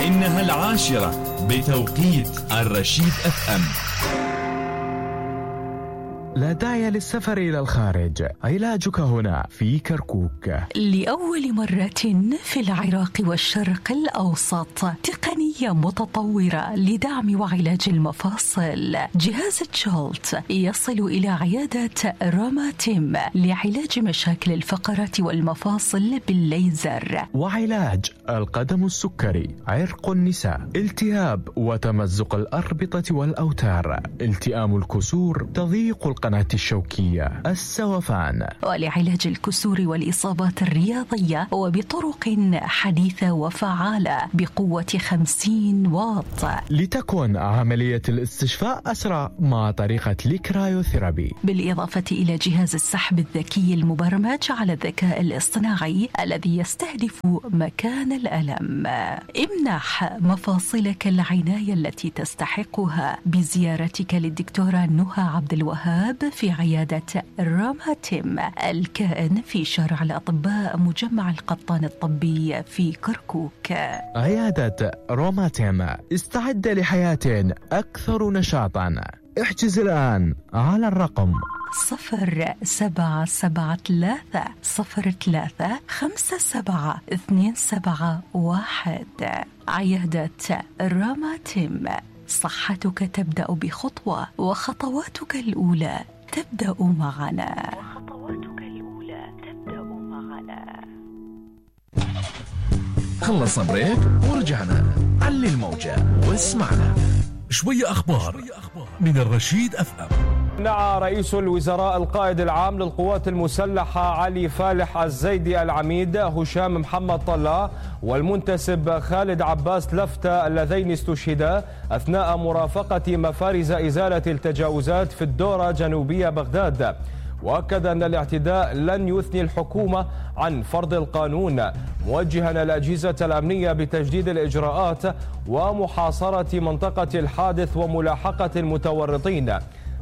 إنها 10 بتوقيت الرشيد FM. لا داعي للسفر إلى الخارج، علاجك هنا في كركوك. لأول مرة في العراق والشرق الأوسط تقنية متطورة لدعم وعلاج المفاصل. جهاز تشولت يصل إلى عيادة روماتيم لعلاج مشاكل الفقرات والمفاصل بالليزر، وعلاج القدم السكري، عرق النساء، التهاب وتمزق الأربطة والأوتار، التئام الكسور، تضييق القناة الشوكية، السوفان، ولعلاج الكسور والإصابات الرياضية وبطرق حديثة وفعالة بقوة 50 واط، لتكون عملية الاستشفاء أسرع مع طريقة الكرايوثيرابي، بالإضافة إلى جهاز السحب الذكي المبرمج على الذكاء الاصطناعي الذي يستهدف مكان الألم. امنح مفاصلك العناية التي تستحقها بزيارتك للدكتورة نهى عبد الوهاب في عيادة روماتيم الكائن في شارع الأطباء مجمع القطان الطبي في كركوك. عيادة روماتيم، استعد لحياة أكثر نشاطا. احجز الآن على الرقم 0773-53-57271. عيادة روماتيم، صحتك تبدأ بخطوة وخطواتك الأولى تبدأ معنا. خلص بريك ورجعنا. علي الموجة واسمعنا. شوية أخبار من الرشيد FM. نعى رئيس الوزراء القائد العام للقوات المسلحة علي فالح الزيدي العميد هشام محمد طلع والمنتسب خالد عباس لفتة اللذين استشهدا أثناء مرافقة مفارز إزالة التجاوزات في الدورة جنوبية بغداد. وأكد أن الاعتداء لن يثني الحكومة عن فرض القانون، موجها الأجهزة الأمنية بتجديد الإجراءات ومحاصرة منطقة الحادث وملاحقة المتورطين،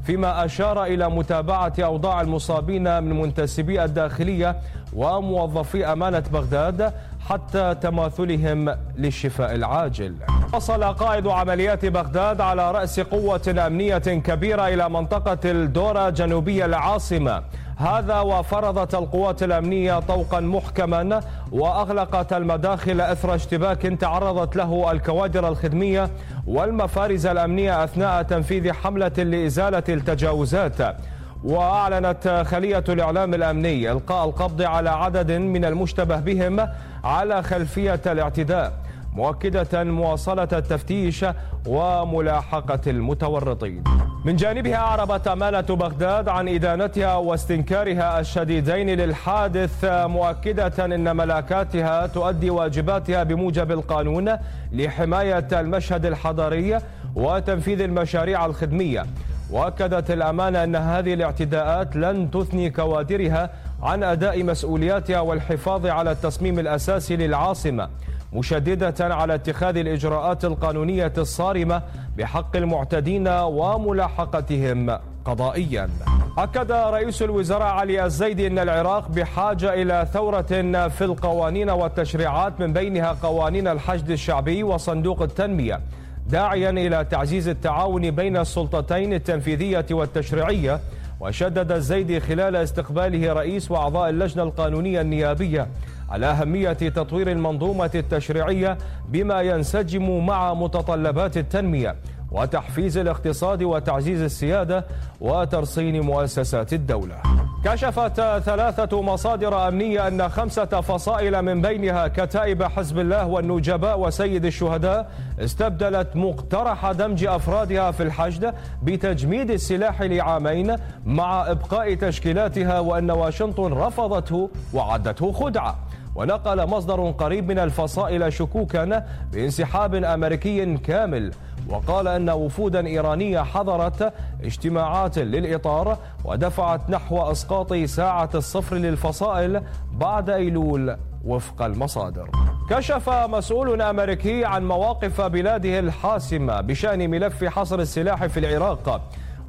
فيما أشار إلى متابعة أوضاع المصابين من منتسبي الداخلية وموظفي أمانة بغداد حتى تماثلهم للشفاء العاجل. وصل قائد عمليات بغداد على رأس قوة أمنية كبيرة إلى منطقة الدورة جنوبية العاصمة، هذا وفرضت القوات الأمنية طوقا محكما وأغلقت المداخل أثر اشتباك تعرضت له الكوادر الخدمية والمفارز الأمنية أثناء تنفيذ حملة لإزالة التجاوزات. وأعلنت خلية الإعلام الأمني إلقاء القبض على عدد من المشتبه بهم على خلفية الاعتداء، مؤكدة مواصلة التفتيش وملاحقة المتورطين. من جانبها أعربت أمانة بغداد عن إدانتها واستنكارها الشديدين للحادث، مؤكدة أن ملاكاتها تؤدي واجباتها بموجب القانون لحماية المشهد الحضاري وتنفيذ المشاريع الخدمية. وأكدت الأمانة أن هذه الاعتداءات لن تثني كوادرها عن أداء مسؤولياتها والحفاظ على التصميم الأساسي للعاصمة، مشددة على اتخاذ الإجراءات القانونية الصارمة بحق المعتدين وملاحقتهم قضائيا. أكد رئيس الوزراء علي الزيدي أن العراق بحاجة إلى ثورة في القوانين والتشريعات، من بينها قوانين الحشد الشعبي وصندوق التنمية، داعيا إلى تعزيز التعاون بين السلطتين التنفيذية والتشريعية. وشدد الزيدي خلال استقباله رئيس وأعضاء اللجنة القانونية النيابية على أهمية تطوير المنظومة التشريعية بما ينسجم مع متطلبات التنمية وتحفيز الاقتصاد وتعزيز السيادة وترصين مؤسسات الدولة. كشفت 3 مصادر أمنية أن 5 فصائل من بينها كتائب حزب الله والنجباء وسيد الشهداء استبدلت مقترح دمج أفرادها في الحشد بتجميد السلاح لعامين مع إبقاء تشكيلاتها، وأن واشنطن رفضته وعدته خدعة. ونقل مصدر قريب من الفصائل شكوكا بانسحاب أمريكي كامل، وقال أن وفودا إيرانية حضرت اجتماعات للإطار ودفعت نحو إسقاط ساعة الصفر للفصائل بعد أيلول وفق المصادر. كشف مسؤول أمريكي عن مواقف بلاده الحاسمة بشأن ملف حصر السلاح في العراق،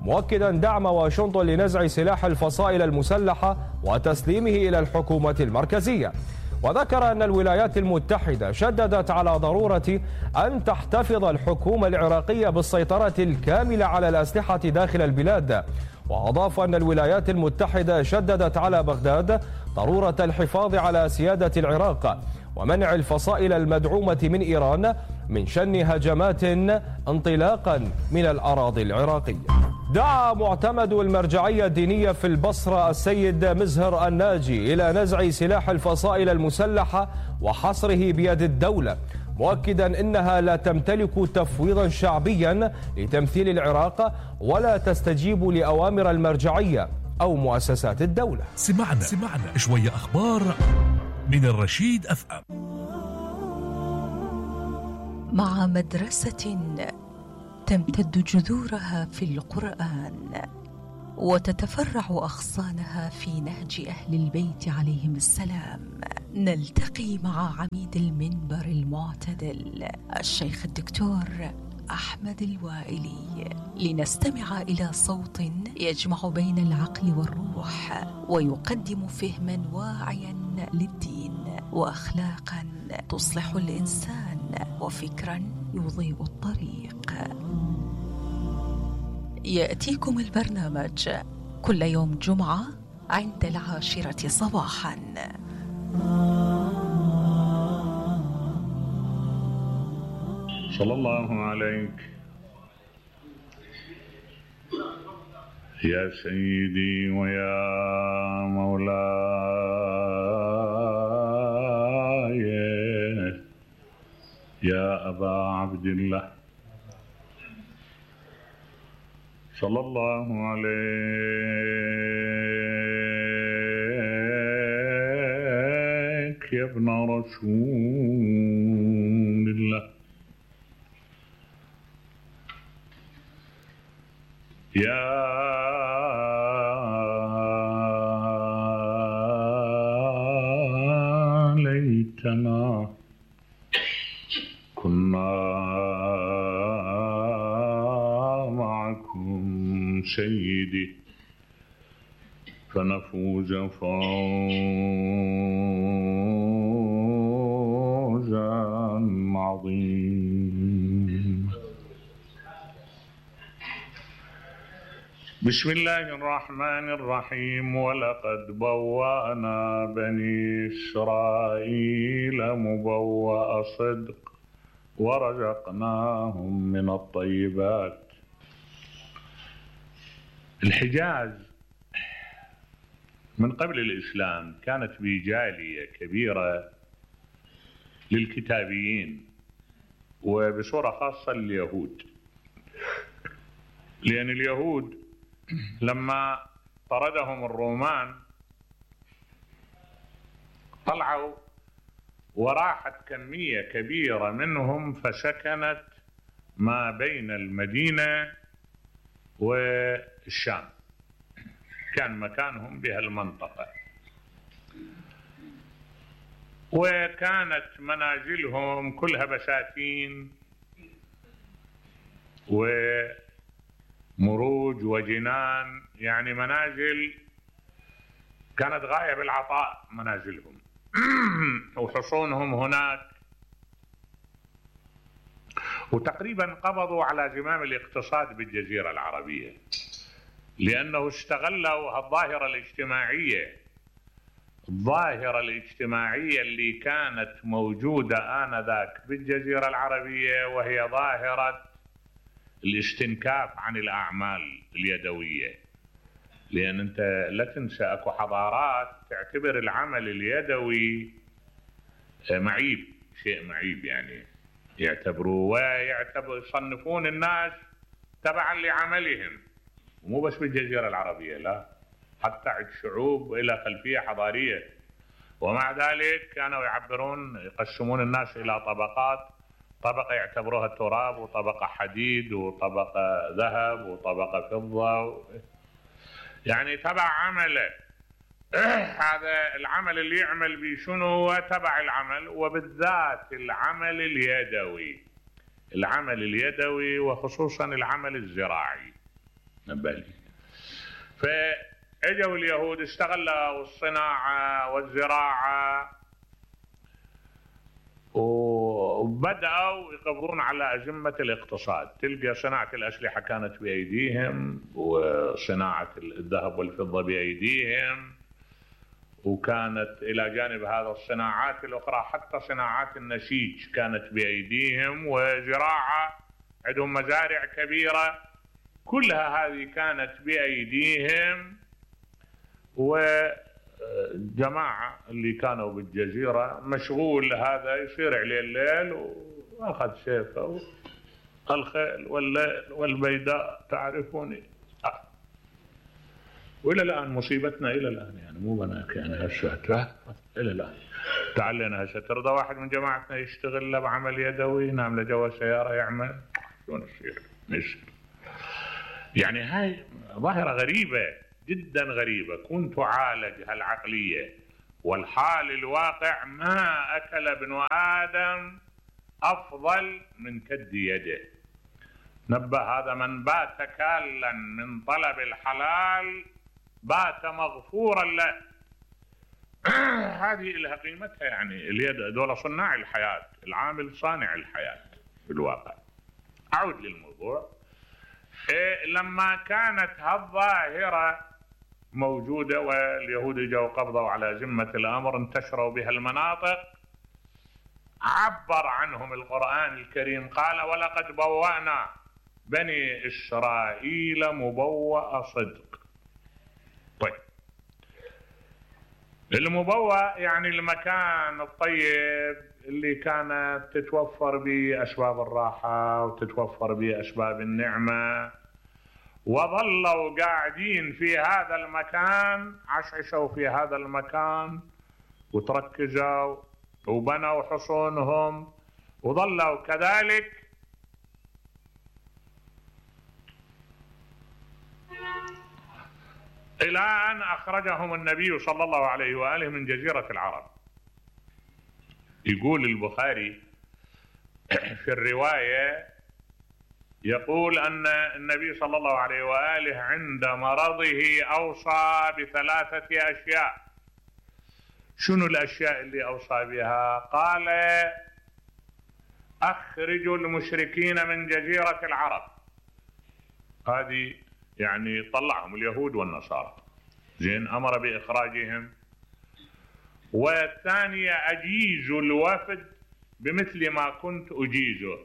مؤكدا دعم واشنطن لنزع سلاح الفصائل المسلحة وتسليمه إلى الحكومة المركزية. وذكر أن الولايات المتحدة شددت على ضرورة أن تحتفظ الحكومة العراقية بالسيطرة الكاملة على الأسلحة داخل البلاد. وأضاف أن الولايات المتحدة شددت على بغداد ضرورة الحفاظ على سيادة العراق ومنع الفصائل المدعومة من إيران من شن هجمات انطلاقا من الأراضي العراقية. دعا معتمد المرجعية الدينية في البصرة السيد مزهر الناجي إلى نزع سلاح الفصائل المسلحة وحصره بيد الدولة، مؤكدا أنها لا تمتلك تفويضا شعبيا لتمثيل العراق ولا تستجيب لأوامر المرجعية أو مؤسسات الدولة. سمعنا شوية أخبار من الرشيد أفأم. مع مدرسة تمتد جذورها في القرآن وتتفرع أغصانها في نهج أهل البيت عليهم السلام، نلتقي مع عميد المنبر المعتدل الشيخ الدكتور أحمد الوائلي لنستمع إلى صوت يجمع بين العقل والروح ويقدم فهما واعيا للدين وأخلاقا تصلح الإنسان وفكرا يضيء الطريق. يأتيكم البرنامج كل يوم جمعة عند 10 صباحا. صلى الله عليك يا سيدي ويا مولاي يا أبا عبد الله، صلى الله عليك يا ابن رسول الله، يا ليتنا كنا معكم سيدي فنفوز فوزا عظيما. بسم الله الرحمن الرحيم. ولقد بوأنا بني إسرائيل مبوأ صدق ورزقناهم من الطيبات. الحجاز من قبل الإسلام كانت به جالية كبيرة للكتابيين وبصورة خاصة اليهود، لأن اليهود لما طردهم الرومان طلعوا وراحت كمية كبيرة منهم فسكنت ما بين المدينة والشام، كان مكانهم بهالمنطقة، وكانت منازلهم كلها بساتين ومروج وجنان، يعني منازل كانت غاية بالعطاء منازلهم وحصونهم هناك، وتقريبا قبضوا على زمام الاقتصاد بالجزيرة العربية، لأنه استغلوا الظاهرة الاجتماعية اللي كانت موجودة آنذاك بالجزيرة العربية، وهي ظاهرة الاستنكاف عن الأعمال اليدوية. لأن أنت لا تنسى أكو حضارات تعتبر العمل اليدوي معيب، شيء معيب، يعني يعتبروه يصنفون الناس تبعا لعملهم، ومو بس بالجزيرة العربية، لا، حتى عند شعوب إلى خلفية حضارية. ومع ذلك كانوا يقسمون الناس إلى طبقات، طبقة يعتبروها تراب، وطبقة حديد، وطبقة ذهب، وطبقة فضة، يعني تبع عمله. هذا العمل اللي يعمل به شنو هو تبع العمل، وبالذات العمل اليدوي وخصوصا العمل الزراعي نبالي. فاجوا اليهود استغلوا الصناعة والزراعة وبدأوا يقبضون على أزمة الاقتصاد. تلقى صناعة الأسلحة كانت بأيديهم، وصناعة الذهب والفضة بأيديهم، وكانت إلى جانب هذا الصناعات الأخرى حتى صناعات النسيج كانت بأيديهم، وزراعة عندهم مزارع كبيرة كلها هذه كانت بأيديهم. وجماعة اللي كانوا بالجزيرة مشغول هذا يصير عليه الليل وأخذ سيفه الخيل والليل والبيداء تعرفوني. وإلى الآن مصيبتنا إلى الآن يعني مو بناك يعني هسه إلى الآن. تعلينا هسه ترضى واحد من جماعتنا يشتغل له بعمل يدوي ينام له جوا سيارة يعمل شلون يصير؟ يصير يعني هاي ظاهرة غريبة جدا غريبة. كنت تعالج هالعقلية والحال الواقع ما أكل ابن آدم أفضل من كد يده. نبه هذا من بات كالا من طلب الحلال بات مغفورا له. هذه لها قيمتها يعني. اليد دول صناع الحياة، العامل صانع الحياة في الواقع. أعود للموضوع. لما كانت هالظاهرة موجودة واليهود جاءوا قبضوا على ذمة الأمر انتشروا بها المناطق، عبر عنهم القرآن الكريم قال ولقد بوأنا بني إسرائيل مبوأ صدق. طيب المبوأ يعني المكان الطيب اللي كانت تتوفر به أسباب الراحة وتتوفر به أسباب النعمة، وظلوا قاعدين في هذا المكان، عشعشوا في هذا المكان وتركزوا وبنوا حصونهم وظلوا كذلك إلى أن أخرجهم النبي صلى الله عليه وآله من جزيرة العرب. يقول البخاري في الرواية يقول أن النبي صلى الله عليه وآله عند مرضه أوصى بثلاثة أشياء. شنو الأشياء اللي أوصى بها؟ قال أخرجوا المشركين من جزيرة العرب. هذه يعني طلعهم اليهود والنصارى، زين، أمر بإخراجهم. والثانية أجيزوا الوفد بمثل ما كنت أجيزه.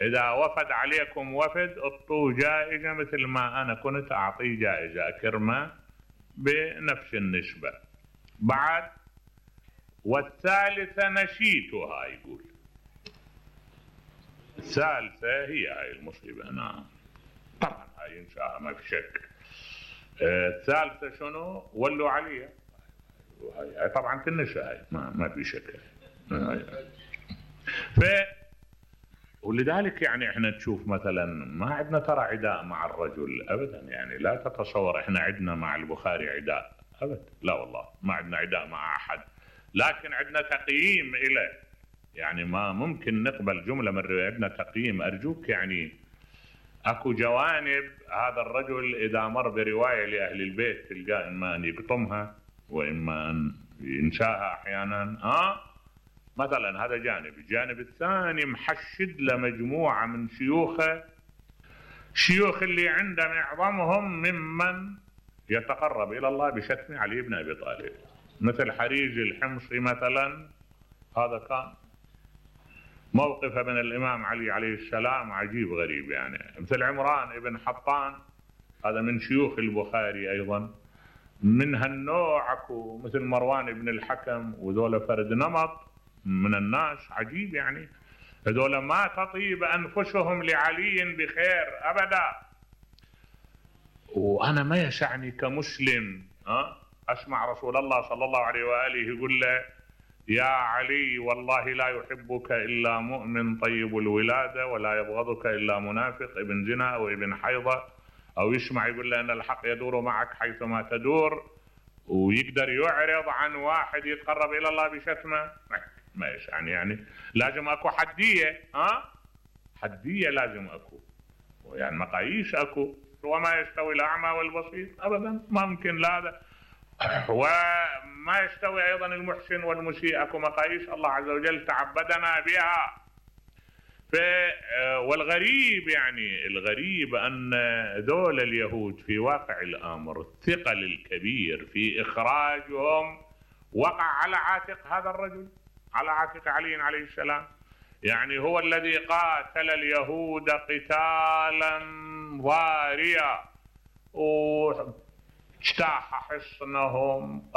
إذا وفد عليكم وفد اعطوه جائزة مثل ما أنا كنت أعطيه جائزة، أكرمه بنفس النسبة. بعد والثالثة نسيتها. يقول الثالثة هي هاي المصيبة. نعم طبعا هاي إنشاء ما في شك. الثالثة شنو؟ ولوا عليها. هاي طبعا تنسى، هاي ما في شك. ولذلك يعني احنا تشوف مثلا ما عندنا ترى عداء مع الرجل ابدا. يعني لا تتصور احنا عندنا مع البخاري عداء ابدا، لا والله ما عندنا عداء مع احد، لكن عندنا تقييم له. يعني ما ممكن نقبل جملة من الرواية، عندنا تقييم. ارجوك يعني اكو جوانب هذا الرجل اذا مر برواية لاهل البيت تلقاه اما ان يقطمها واما ان ينساها احيانا. مثلا هذا جانب. الجانب الثاني محشد لمجموعة من شيوخه، شيوخ اللي عنده معظمهم ممن يتقرب إلى الله بشتم علي بن أبي طالب، مثل حريج الحمصي مثلا. هذا كان موقفه من الإمام علي عليه السلام عجيب غريب يعني. مثل عمران ابن حطان، هذا من شيوخ البخاري أيضا. من هالنوع اكو مثل مروان بن الحكم، وذولا فرد نمط من الناس عجيب يعني. هذول ما تطيب أنفسهم لعلي بخير أبدا. وأنا ما يسعني كمسلم أسمع رسول الله صلى الله عليه وآله يقول له يا علي والله لا يحبك إلا مؤمن طيب الولادة ولا يبغضك إلا منافق ابن زنا أو ابن حيضة. أو يسمع يقول له أن الحق يدور معك حيثما تدور، ويقدر يعرض عن واحد يتقرب إلى الله بشتمه. ما يعني لازم اكو حدية. حدية لازم اكو، يعني مقاييس اكو. وما يستوي الاعمى والبصير ابدا، ما ممكن لا هذا. وما يستوي ايضا المحسن والمسيء، اكو مقاييس الله عز وجل تعبدنا بها. والغريب يعني الغريب أن ذول اليهود في واقع الأمر الثقل الكبير في إخراجهم وقع على عاتق هذا الرجل، على عاتق علي عليه السلام. يعني هو الذي قاتل اليهود قتالا ضاريا واجتاح حصنهم،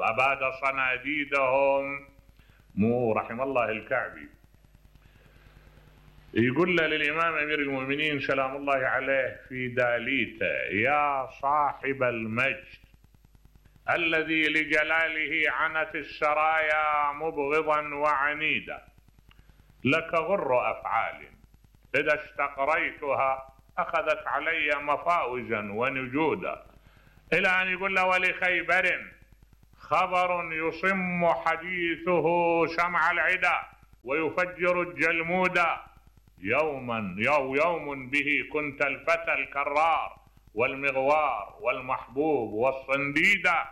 أباد صناديدهم. مو رحم الله الكعبي يقول له للإمام أمير المؤمنين سلام الله عليه في داليته: يا صاحب المجد الذي لجلاله عنت السرايا مبغضا وعنيدا، لك غر أفعال إذا استقريتها أخذت علي مفاوزا ونجودا، إلى أن يقول له: ولخيبر خبر يصم حديثه سمع العدا ويفجر الجلمودا، يوم به كنت الفتى الكرار والمغوار والمحبوب والصنديدا،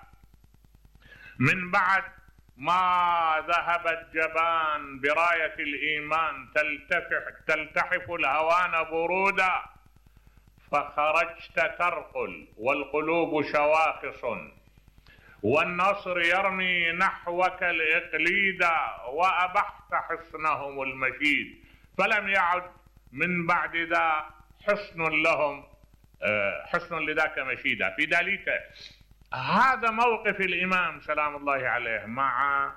من بعد ما ذهب الجبان براية الإيمان تلتحف الهوان برودا، فخرجت ترقل والقلوب شواخص والنصر يرمي نحوك الإقليدا، وأبحت حصنهم المشيد فلم يعد من بعد ذا حصن لذاك مشيدا. في داليته هذا موقف الإمام سلام الله عليه مع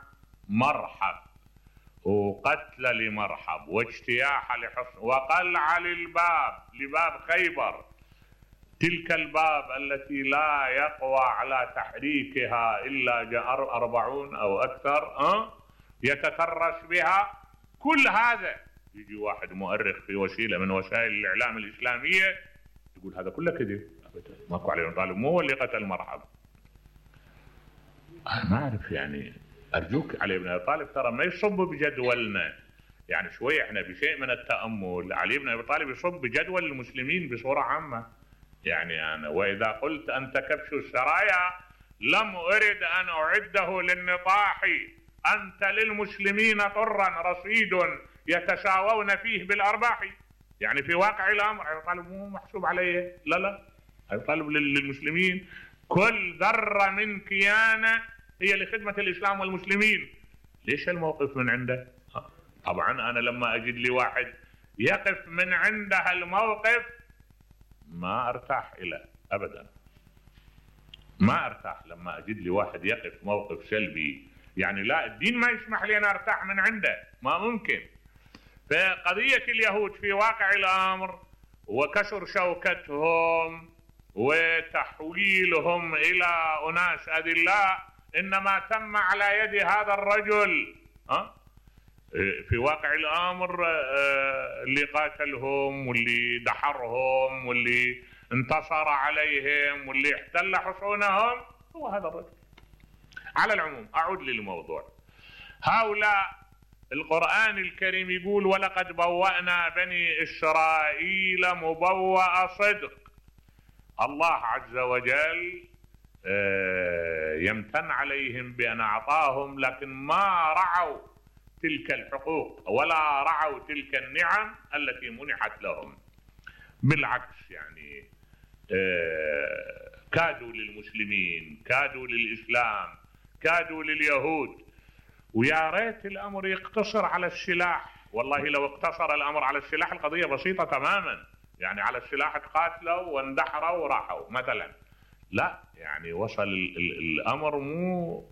مرحب وقتل لمرحب واجتياح لحصن وقلع لباب خيبر، تلك الباب التي لا يقوى على تحريكها إلا 40 أو أكثر يتترس بها. كل هذا يجي واحد مؤرخ في وسيلة من وسائل الإعلام الإسلامية يقول هذا كله كذب، ماكو علي بن طالب مو هو اللي قتل مرحب. أنا ما أعرف، يعني أرجوك علي بن أبي طالب ترى ما يصب بجدولنا، يعني شوي احنا بشيء من التأمل. علي بن أبي طالب يصب بجدول المسلمين بصورة عامة. يعني أنا وإذا قلت أنت كبش السرايا لم أرد أن أعده للنطاح، أنت للمسلمين طرا رصيد يتساوون فيه بالأرباح. يعني في واقع الأمر أبي طالب مو محسوب عليه، لا أبي طالب للمسلمين كل ذرة من كيانه هي لخدمة الإسلام والمسلمين. ليش الموقف من عنده؟ طبعا أنا لما أجد لي واحد يقف من عنده الموقف ما أرتاح إليه أبدا، ما أرتاح لما أجد لي واحد يقف موقف سلبي. يعني لا، الدين ما يسمح لي أن أرتاح من عنده، ما ممكن. فقضية اليهود في واقع الأمر وكسر شوكتهم وتحويلهم إلى أناس أذلاء إنما تم على يد هذا الرجل. في واقع الأمر اللي قاتلهم واللي دحرهم واللي انتصر عليهم واللي احتل حصونهم هو هذا الرجل. على العموم أعود للموضوع. هؤلاء القرآن الكريم يقول: ولقد بوأنا بني إسرائيل مبوأ صدق. الله عز وجل يمتن عليهم بأن أعطاهم، لكن ما رعوا تلك الحقوق ولا رعوا تلك النعم التي منحت لهم. بالعكس، يعني كادوا للمسلمين، كادوا للإسلام، كادوا لليهود. ويا ريت الأمر يقتصر على السلاح. والله لو اقتصر الأمر على السلاح القضية بسيطة تماما. يعني على السلاح تقاتلوا واندحروا وراحوا مثلا. لا، يعني وصل الأمر مو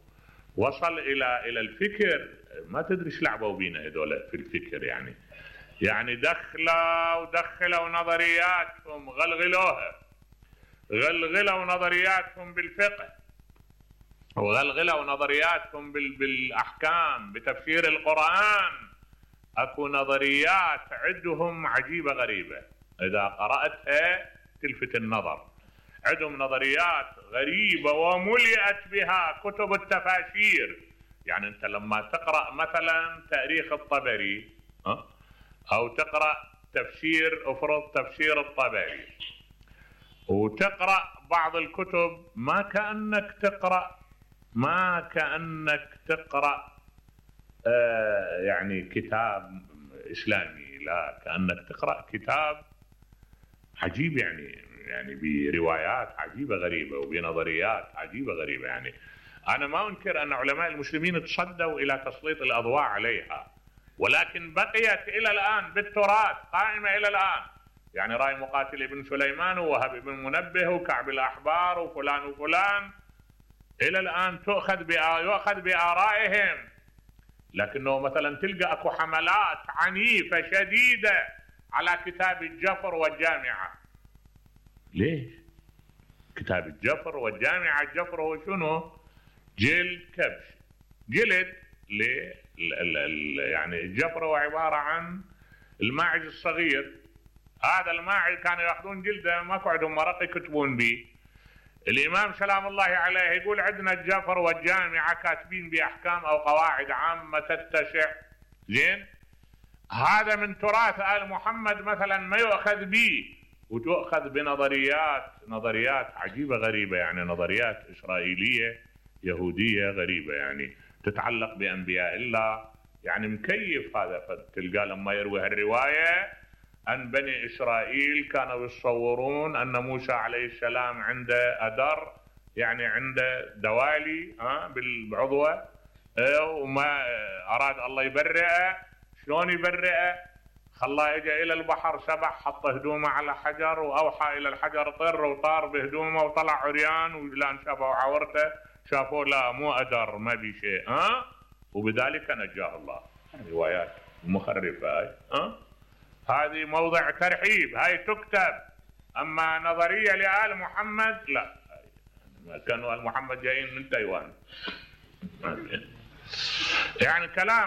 وصل إلى الفكر. ما تدري ايش لعبوا بينا هذول في الفكر. يعني دخلوا نظرياتهم، غلغلوا نظرياتهم بالفقه، وغلغلوا نظرياتهم بالأحكام، بتفسير القرآن. أكو نظريات عندهم عجيبة غريبة، إذا قرأتها تلفت النظر. عندهم نظريات غريبة وملئت بها كتب التفاسير. يعني أنت لما تقرأ مثلا تاريخ الطبري أو تقرأ تفسير الطبري وتقرأ بعض الكتب، ما كأنك تقرأ يعني كتاب إسلامي، لا، كأنك تقرأ كتاب عجيب يعني بروايات عجيبة غريبة وبنظريات عجيبة غريبة. يعني أنا ما أنكر أن علماء المسلمين تصدوا إلى تسليط الأضواء عليها، ولكن بقيت إلى الآن بالتراث، قائمة إلى الآن. يعني رأي مقاتل ابن سليمان ووهب بن منبه وكعب الأحبار وفلان وفلان إلى الآن يؤخذ بآرائهم، لكنه مثلا تلقى أكو حملات عنيفة شديدة على كتاب الجفر والجامعة. ليش؟ كتاب الجفر والجامعة، الجفر هو شنو؟ جلد كبش، جلد يعني الجفر هو عبارة عن الماعز الصغير. هذا الماعز كانوا يأخذون جلده، ماكو عندهم مرق يكتبون به. الإمام سلام الله عليه يقول عندنا الجفر والجامعة كاتبين بأحكام أو قواعد عامة تتسع. زين، هذا من تراث آل محمد مثلا ما يؤخذ به، وتؤخذ بنظريات عجيبة غريبة، يعني نظريات إسرائيلية يهودية غريبة، يعني تتعلق بأنبياء الله. يعني مكيف هذا. فتلقى لما يروي هالرواية أن بني إسرائيل كانوا يتصورون أن موسى عليه السلام عنده أدر، يعني عنده دوالي بالعضوة، وما أراد الله يبرئه. شلون يبرئه؟ خلاه يجي إلى البحر، سبح، حط هدومه على حجر وأوحى إلى الحجر طر، وطار بهدومه وطلع عريان، ولان شافوا عورته شافوا لا مو أدر ما بي شيء، وبذلك نجاه الله. روايات مخرفة هاي. هذه موضع ترحيب، هاي تكتب. أما نظرية لآل محمد لا، كانوا آل محمد جايين من تايوان. يعني كلام